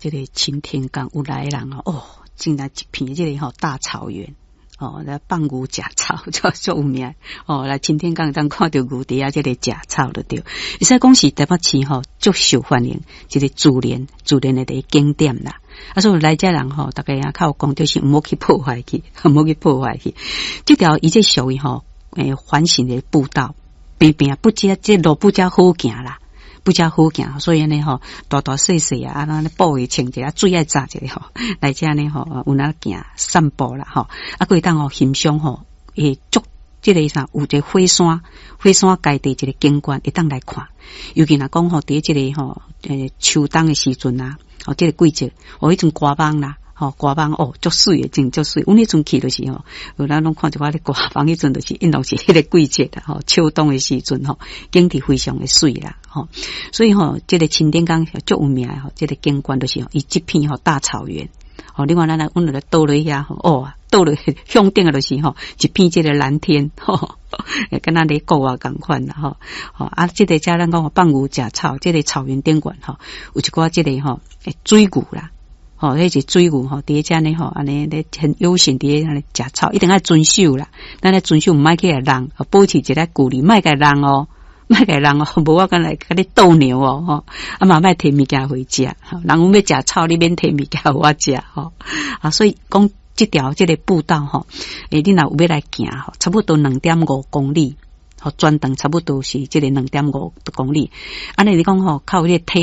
這个擎天崗有來的人吼，哦，進來一片這个吼大草原。哦，來放牛食草，足足有名。哦，來擎天崗當看著牛佇遐這个食草就對。會使講是台北市吼足受歡迎，一个自然自然的一个景點啦。啊，所以來遮人吼，逐家啊較有講，就是毋好去破壞去，毋好去破壞去。這條伊這屬於吼，環形的步道，平平不遮這路不遮好行啦。不遮好行，所以按呢吼，大大細細啊，啊，按呢布會穿一下，水愛紮一下吼，來遮呢吼，有哪行散步啦吼，啊，閣會當吼欣賞吼，會足這个啥，有一個火山，火山階地一個景觀，會當來看。尤其若講吼，佇這个吼，秋冬的時陣啊，哦，這个季節，哦，彼陣寒枋啦。吼，寒枋哦，足媠的，真足媠。阮彼陣去就是吼，有咱攏看一寡咧寒枋，彼陣就是應當是彼个季節啦，吼，秋冬的時陣吼，景致非常的媠啦，吼。所以吼，這个擎天崗足有名的吼，這个景觀就是伊這片吼大草原。吼，另外咱來阮來倒落遐吼，哦，倒落向頂的就是吼，一片這个藍天，吼，敢若咧國外仝款啦，吼。吼啊，這个遮咱講放牛食草，這个草原頂懸吼，有一寡這个吼水牛啦。吼，彼是水牛吼，佇遮呢吼，按呢咧很悠閒佇咧按呢食草，一定愛遵守啦。咱愛遵守，毋愛去共弄，保持一个距離，莫共弄哦，莫共弄哦，無我敢來共你鬥牛哦，吼。啊嘛，莫提物件予伊食，人阮欲食草，你免提物件予我食，吼。啊，所以講這條這个步道吼，你若有欲來行吼，差不多2.5公里，吼，全長差不多是這个2.5公里。按呢你講吼，較有這個體